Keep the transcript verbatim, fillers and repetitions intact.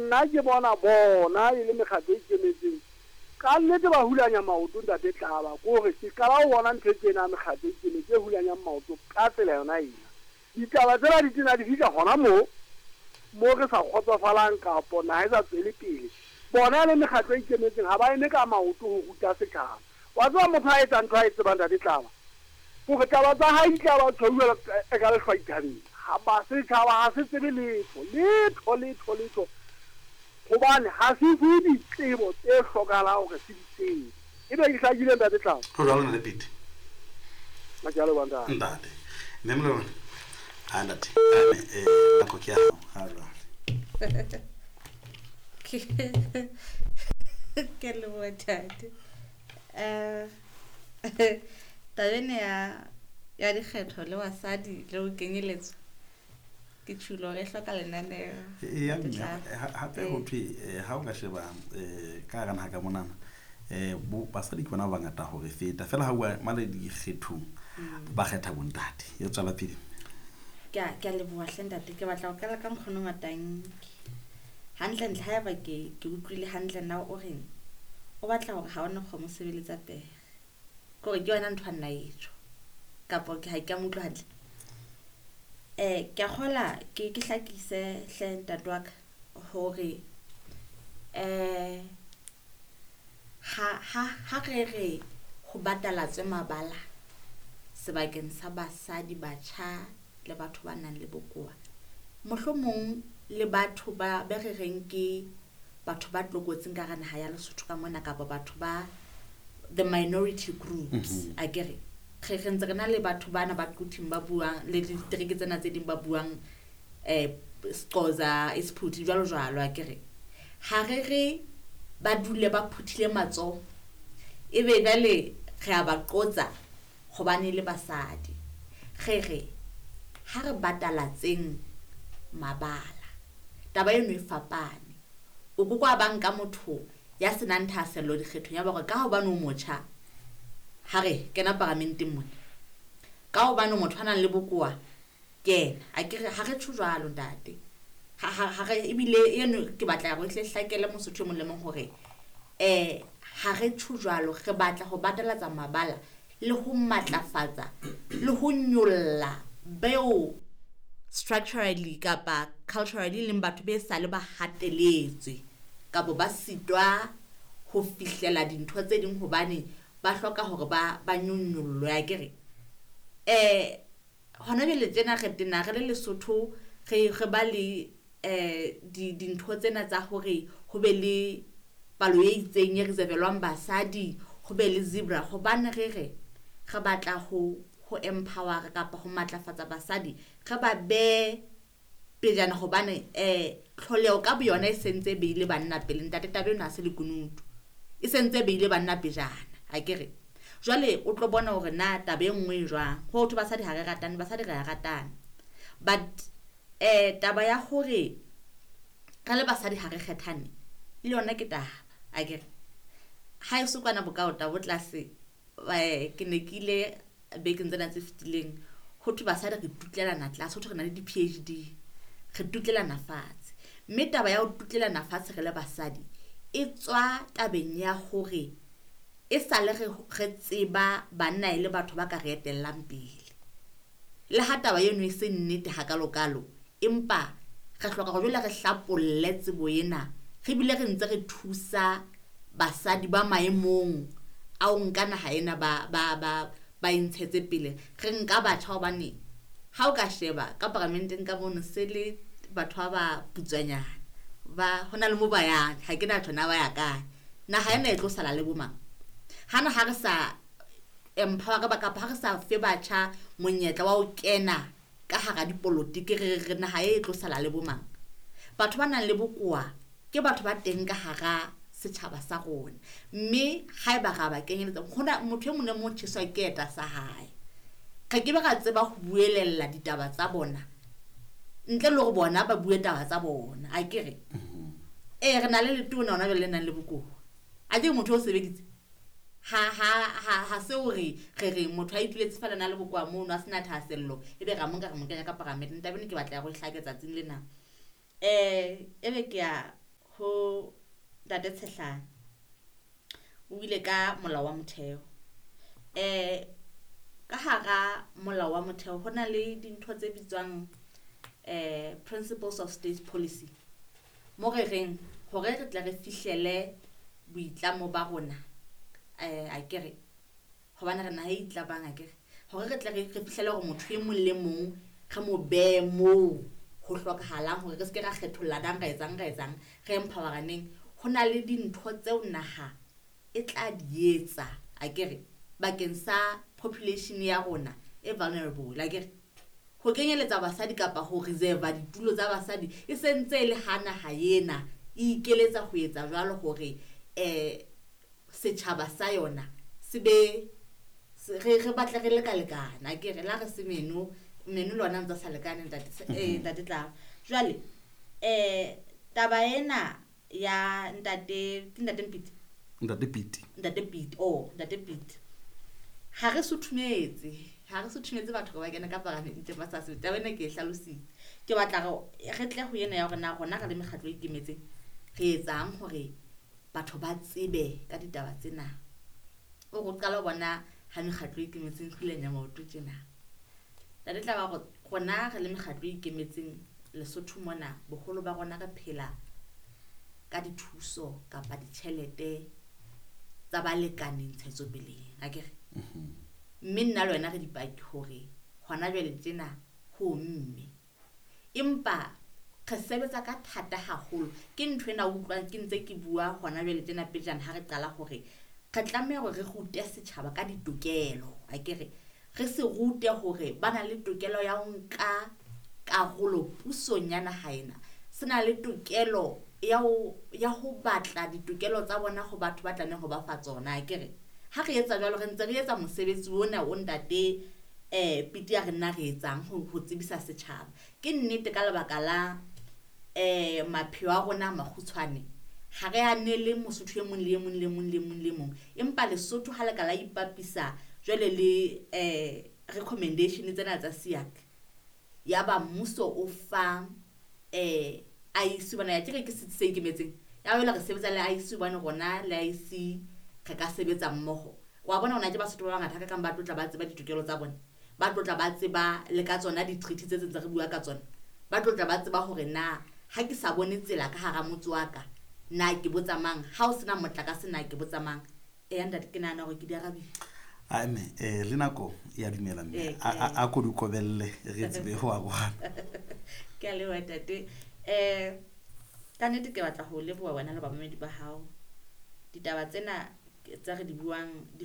Nna ke bona bona e le mekgatlo e ikemetseng. Ka nnete ba hulanya maoto ntate Tlaba, kore ke qala ho bona ntho e tjena mekgatlo e ikemetseng e hulanyang maoto ka tsela yona ena. Ditaba tsena di tena di fihla hona moo mo re sa kgotsofalang kapo naha e sa tswele pele. Bona le mekgatlo e ikemetseng ha ba eme ka maoto ho ruta setjhaba. Wa tseba motho a etsang ntho a e tsebang ntate Tlaba, hore taba tsa hae di tla ba tshwauwa e ka lehlwa dithabeng. Ha ba setjhaba ha se tsebe letho, letho, letho, letho. Hobane ha se fuwe ditsebo tse hlokahalang hore se di tsebe. Ebe ke hlakile ntate Tlaba? Ho jwalo ntate Pete. Ke a leboha ntate. Ntate. Mme Moloi, ha ntate. Ame, eh, nako ke ya hao, ha jwale. Ke leboha ntate. Eh, taba ena ya, ya dikgetho le basadi le ho kenyeletswa ke tjhulo re hloka lenaneo. E, ya Ke mme, tla- ha-, hape Eh. ho thwe, eh, ha o ka sheba, eh, ka hara naha ka monana, eh, bo, basadi ke bona ba bangata ho re feta. Feela ha bua mane dikgethong, Mm. ba kgetha bontate. E tswela pele. Ke a, ke a leboha hle ntate. Ke batla ho qala ka nkgono Matanki. Hantlentle haeba ke, ke utlwile hantle na o reng? O batla hore ha ona kgomo sebeletsa pere. Ke hore ke yona ntho a nna e tjho. Kapa ke ha ke a mo utlwa hantle. Eh, ke a kgola ke, ke hlakise hle ntate wa ka hore, eh, ha, ha, ha re re ho batalatswe mabala sebakeng sa basadi, batjha le batho ba nang le bokowa, mohlomong le batho ba, be re reng ke batho ba tlokotsing ka hara naha ya Lesotho ka mona, kapa batho ba the minority groups, Mm-hmm. akere re, re ntse re na le batho bana ba Quthing ba buang le ditereke tsena tse ding ba buang, eh, Sexhosa, Isiphuthi jwalo jwalo, akere ha re re ba dule ba phuthile matsoho ebe jwale re a ba qotsa hobane le basadi. Re re ha re batalatseng mabala, taba eno e fapane. O ko kwa ba nka motho ya senang thahasello dikgethong ya ba hore ka hobane o motjha, ha re kena paramenteng mona, ka hobane motho a nang le bokowa kena. A ke re ha re tjho jwalo ntate. Ha, ha, ha re, ebile eno ke batla hore e hle hlakele Mosotho e mong le mong hore, eh, ha re tjho jwalo, re batla ho batalatsa mabala le ho matlafatsa le ho nyolla beo structurally kapa culturally leng batho be sale ba hateletswe kapa ba sitwa ho fihlela dintho tse ding hobane ba hloka hore ba, ba nyonyollwe, akere. Eh, hona jwale tjena re tena re le Lesotho, re, re ba le, eh, di-, dintho tsena tsa hore ho be le palo e itseng e reservelwang basadi, ho be le zebra, hobane re re re batla ho, ho empower kapa ho matlafatsa basadi, re ba be pejana hobane, eh, tlholeho ka boyona e sentse e beile banna pele. Ntate, taba ena ha se lekunutu, e sentse e beile banna pejana, akere. Jwale o tlo bona hore na taba e nngwe e jwang. Ho thwe basadi ha re ratane, basadi re a ratana, but, eh, taba ya hore re le basadi ha re kgethane le yona ke taba, akere. Ha e so kwana bokaota bo tlase, eh, ke ne ke ile bekeng tsena tse fetileng, ho thwe basadi re tutlelana tlase, ho thwe re na le di P H D, re tutlelana fatshe. Mme taba ya ho tutlelana fatshe re le basadi e tswa tabeng ya hore e sale re, re tseba banna e le batho ba ka re etellang pele. Le ha taba eno e se nnete hakalokalo, empa re hloka hore jwale re hlapolle tsebo ena, re bile re ntse re thusa basadi ba maemong a ho nka naha ena ba, ba, ba, ba e ntshetse pele. Re nka batjha hobane ha o ka sheba ka paramenteng ka mono se le batho ba ba putswanyana, ba hona le mo ba yang, ha ke na tjho na ba ya kae. Naha ena e tlo sala le bo mang? Hana ha re sa empower ba kapa ha re sa fe batjha monyetla wa ho kena ka hara dipolotiki, re re naha e tlo sala le bo mang? Batho ba nang le bokowa ke batho ba teng ka hara setjhaba sa rona, mme haeba ra ba kenyeletsa, hona motho e mong le mong o tjheswa ke eta sa hae. Re ke be ra tseba ho buelella ditaba tsa bona ntle le hore bona ba bue taba tsa bona, akere. Mm-hmm. Eh, re na le letona hona jwale le nang le bokowa, a ke motho o sebeditse. Ha, ha, ha, ha se hore re re motho a ituletse feela na le bokowa mono a sena thahasello, ebe ra mo nka re mo kenya ka paramenteng. Taba ena ke batla ya go e hlake tsatsing lena. Eh, ebe ke ya Ho Ntate Tshehlana o ile ka molao wa motheo. Eh ka hara molao wa motheo ho na le dintho tse bitswang eh principles of state policy. Mo re reng hore re tle re fihlele boitlamo ba rona eh akere hobane re naha e itlabang akere hore re tle re re fihlele hore motho e mong le mong re mo behe moo ho hlokahalang hore re se ke ra kgethollanang ra etsang ra etsang re empoweraneng. Ho na le dintho tseo naha e tla di etsa akere bakeng sa population ya rona e vulnerable akere ho kenyeletsa basadi kapa ho reserve ditulo tsa basadi e sentse e le ha naha ena e ikeletsa ho etsa jwalo hore eh setjhaba sa yona se be se- re re batle re lekalekana akere la re se meno meno lona ntse a sa lekane ntate eh ntate Tlaba. Jwale eh taba ena ya ntate ke ntate Mpiti Ntate Piti. Ntate Piti oh ntate Piti ha re suthumetse ha re suthumetse batho ba kena ka paramenteng ba sa sebetse. Taba ena ke e hlalositse. Ke batla re re tle ho ena ya hore na rona re le mekgatlo e ikemetseng re etsang hore batho ba tsebe ka ditaba tsena. O go qala ho bona ha mekgatlo e ikemetseng hulanya maoto tjena. Ntate Tlaba hore rona re le mekgatlo e ikemetseng Lesotho mona boholo ba rona re phela ka dithuso kapa ditjhelete tsa balekane ntshetsopeleng akere. Mme nna le wena re dipaki hore hona jwale tjena ho mme empa re sebetsa ka thata haholo. Ke ntho ena o utlwang ke ntse ke bua hona jwale tjena pejana ha re qala hore re tlameha hore re rute setjhaba ka ditokelo akere. Re se rute hore ba na le tokelo ya ho nka karolo pusong ya naha ena. Se na le tokelo ya ho ya ho batla ditokelo tsa bona ho batho ba tlamehang ho ba fa tsona akere. Ha re etsa jwalo re ntse re etsa mosebetsi ona o ntate eh Piti ya re nna re etsang ho ho tsebisa setjhaba. Ke nnete ka lebaka la eh mapheo a rona a makgutshwane ha re anele Mosotho e mong le e mong le mong le mong le mong, empa Lesotho ha le ka la ipapisa jwale le eh recommendation tsena tsa SIAC ya ba mmuso o fa eh I E C bona ya tjere ke setsi se ikemetseng ya ba re sebetsa le I E C hobane rona le I E C re ka sebetsa mmoho. Wa bona hona ke Basotho ba bangata ka kang ba tlotla ba tseba ditokelo tsa bona, ba tlotla ba tseba le ka tsona di-treaty tse tse ntse re bua ka tsona, ba tlotla ba tseba hore na ha ke sa bone tsela ka hara motse wa ka na ke botsa mang, ha o sena motlakase na ke botsa mang. Eh ntate ke nahana hore ke di arabile. A mme eh le nako ya dumela mme Eh, a, a, ke a ko di kobelle re tsebe ho arohana. Ke a leboha ntate. Eh ka nnete ke batla ho leboha wena le bamamedi ba hao. Ditaba tsena tse re di buang di